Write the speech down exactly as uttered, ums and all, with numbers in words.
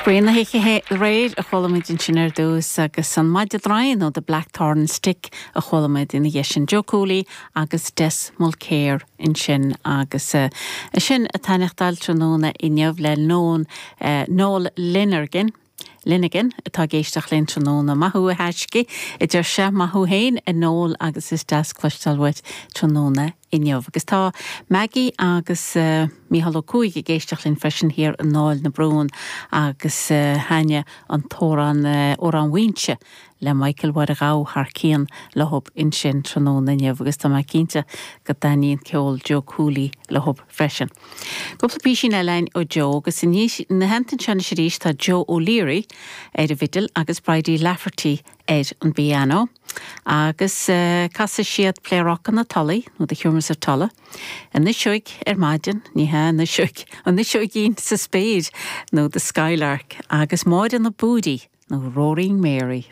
Spraoi na hoíche aréir a chuala muid ansin ar dtús agus an maide draoi nó The Blackthorn Stick a chuala muid ina dhiaidh sin Joe Cooley agus Des Mulcair ansin agus uh, sin ag taitneachtáil tráthnóna inniu le Noel uh, Noel Linergan. Linigan atá ag éisteacht linn tráthnóna maith thú a thaisce idir se maith thú féin a Noel agus is deas cloisteáil uait tráthnóna inniu. Agus tá Maggie agus uh, Mícheál Ó Cuaig ag éisteacht linn freisin thiar i nDáil na Brún agus uh, thaitnigh an t-amhrán uh, Amhrán Mhaínse le Michael Mháire Ghabha thar cionn leo ansin tráthnóna inniu agus tá mé cinnte go dtaitníonn ceol Joe Cooley leo freisin. Cúpla píosín eile ó Joe agus ina theannta sin arís tá Joe O'Leary ar an bhfidil agus Bridie Lafferty ar an bpianó. Agus uh, casfaidh siad Pléaráca na Tulaí nó The Humours of Tulla. An fhuinseog ar maidin ní hea an fhuinseog an fhuinseoigín sa spéir nó The Skylark agus Máire na Búdaí nó Roaring Mary.